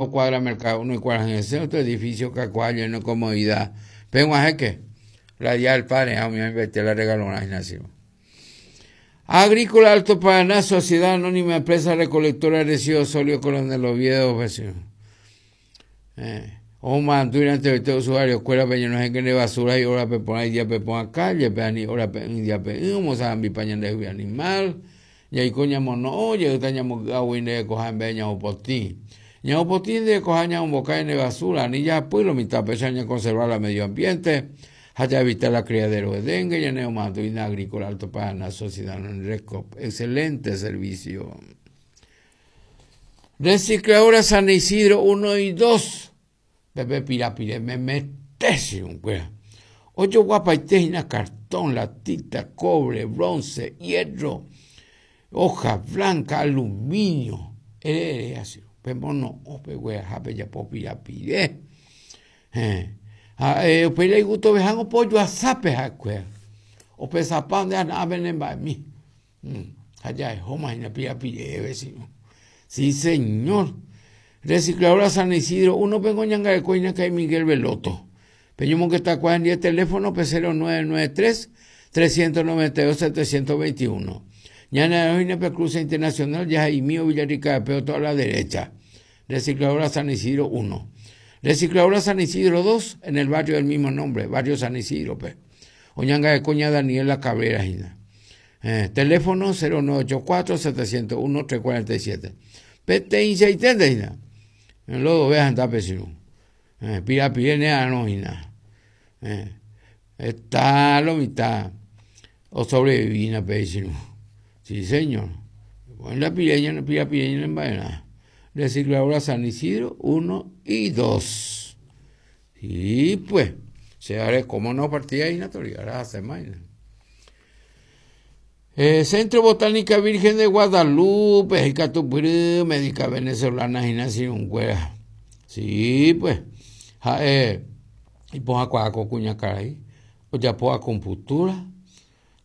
Cuadra Mercado 1 y Kuarahyresẽ, otro edificio kakuaa lleno de comodidad. Peg̃uahẽke, la Día del Padre ha umi oĩmbaite la regalorã hína che. Agrícola Alto Paraná, Sociedad Anónima Empresa Recolectora de Residuos Sólidos Coronel Oviedo, vecino. Eh, omomarandu oite usuario kuérape ñenohẽke nde basura y hórape porã idíape porã calle-pe ani hórape'ỹ idiape'ỹ omosarambipa ñandehegui animal. Jaiko ñamono'õ jeýta ñamoky'águi nde rekoha emba'e ñamopotĩ. Ñamopotĩ nde rekoha ñamombokái nde basura, ani jahapy lo mitã péicha ñakonserva la medio ambiente ha jaevita la criadero de dengue, ñane omoandúina Agrícola Alto Paraná Sociedad Anónima Recop. Excelente servicio. Recicladora San Isidro 1 y 2. Pepe pirapire memete che irũnguéra. Ojoguapaite hína cartón, latita, cobre, bronce, hierro, hoja blanca, aluminio. Ere ere che irũ, pemono'õ pegueraha pejapo pirapire. Héẽ. Ha upéi la igustoveha opojoasápe ha'ekuéra. Opesapa nde ana'ãpe ne mba'emi. Ha jahehóma hína pirapire che irũ. Sí, señor. Recicladora San Isidro 1 pengo ñangareko hína ka'i Miguel Veloto. Peñomongeta kuaa hendive teléfono pe 0993 392 721. Ñane hína pe cruce internacional jahaimío Villarrica de toda la derecha. Recicladora San Isidro 1. Recicladora San Isidro 2 en el barrio del mismo nombre, barrio San Isidro pe. Oñangareko ña Daniela Cabrera hína. Eh, teléfono 0984 701 347. Peteĩchaiténte hína. Lodo vea hendápe che irũ. Eh, pirapire ne arõ hína. Eh, heta lo mitã osobrevivi hína pe che irũ. Sí, señor. La pireña, pirapire ñane mba'erã. Recicladora San Isidro 1 y 2. Sí, pues. Che arekóma una partida hína tori, ahora hacemos hína. Eh, Centro Botánica Virgen de Guadalupe, ikatupyry, médica venezolana hína che irũnguéra. Sí, pues. Ha'e ipohãkuaa ko kuñakarai, ojapo acupuntura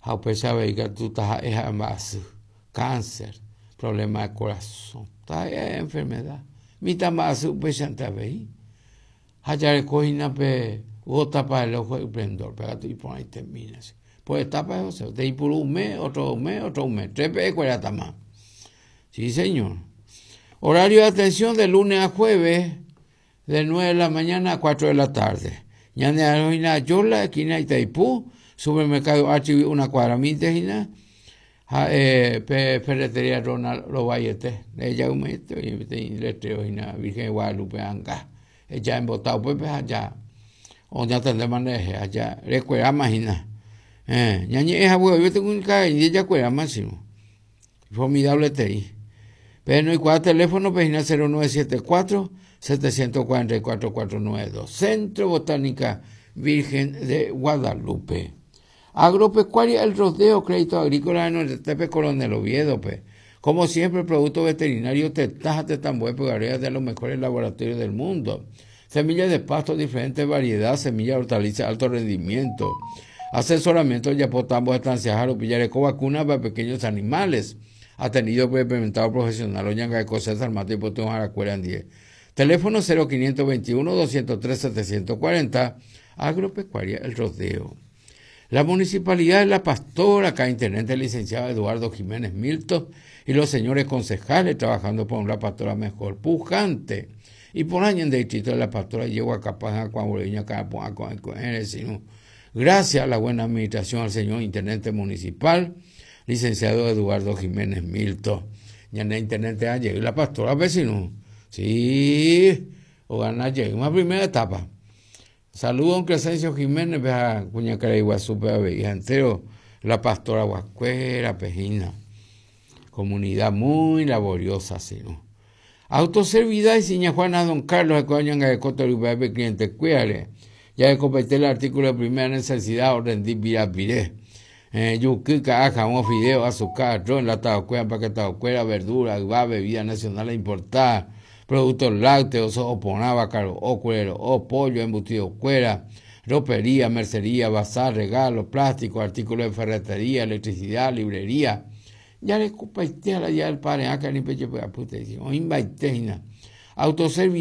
ha upéicha avei katu taha'e ha'e mba'asy, cáncer, problema de corazón, taha'e ha'e enfermedad. Mitã mba'asy upéichante avei. Ha jareko hína pe gota para el ojo esplendor, pe katu iporãitemína che. Por etapa José, te ipuru un mes, otro un mes, otro un mes, tres pe'ekuératama. Sí, señor. Horario de atención de lunes a jueves, de 9 de la mañana a 4 de la tarde. Ñane hína Yola, esquina Itaipú, supermercado Archivi, una cuadra minte hína. Ha pe ferretería Ronald rovaiete, ndahejaumaite oĩ peteĩ letrero hína Virgen de Guadalupe anga. Eja embota upépe ha ja oñatendéma nderehe ha ja rekueráma hína. Eh, ñañe'ẽ hague oĩve kuñakarai jakueráma che irũ. Formidable etei. Pehenoikuaa teléfono-pe hína 0974 744 492. Centro Botánica Virgen de Guadalupe. Agropecuaria El Rodeo, Crédito Agrícola Renondetépe Coronel Oviedo-pe. Como siempre, producto veterinario tetã ha tetãmbue pyharéva de los mejores laboratorios del mundo. Semilla de pasto diferente variedad, semilla de hortaliza alto rendimiento. Asesoramiento ojapo tambo estanciaha rupi jareko vacuna para pequeños animales. Atendido por experimentado profesional oñangareko César Mato ipytyvõharakuéra ndive. Teléfono 0521 203 740 Agropecuaria El Rodeo. La Municipalidad de La Pastora, acá Intendente Licenciado Eduardo Jiménez Milton y los señores concejales trabajando por una pastora mejor, pujante. Y por año en distrito de La Pastora llego a Capaz, Gracias a la buena administración al señor Intendente Municipal, licenciado Eduardo Jiménez Milton. Ñane Intendente ayer, La Pastora vecino. Sí, o gana una primera etapa. Saludo don Crescencio Jiménez pe ha kuñakarai guasúpe avei ha entero la pastora guakuérape hína. Comunidad muy laboriosa sirũ. Autoservidad Isiña Juana ha don Carlos ha'ekuéra oñangareko torypy'ápe cliente kuérare. Jarekopaite la artículo de primera necesidad orrendi pirapire. Eh, juky, ka'a, javõ, fideo, asuka, arroz, enlatado kuéra, empaquetado kuéra, verdura, yva, bebida nacional importada, productos lácteos, so'o porã, vaka ro'o, kure ro'o, pollo, embutido kuéra, ropería, mercería, bazar, regalo, plástico, artículo de ferretería, electricidad, librería. Jarekopaite ha la día del padre áka ni pejepy'apy te'i, oĩmbaite hína. Autoservidad.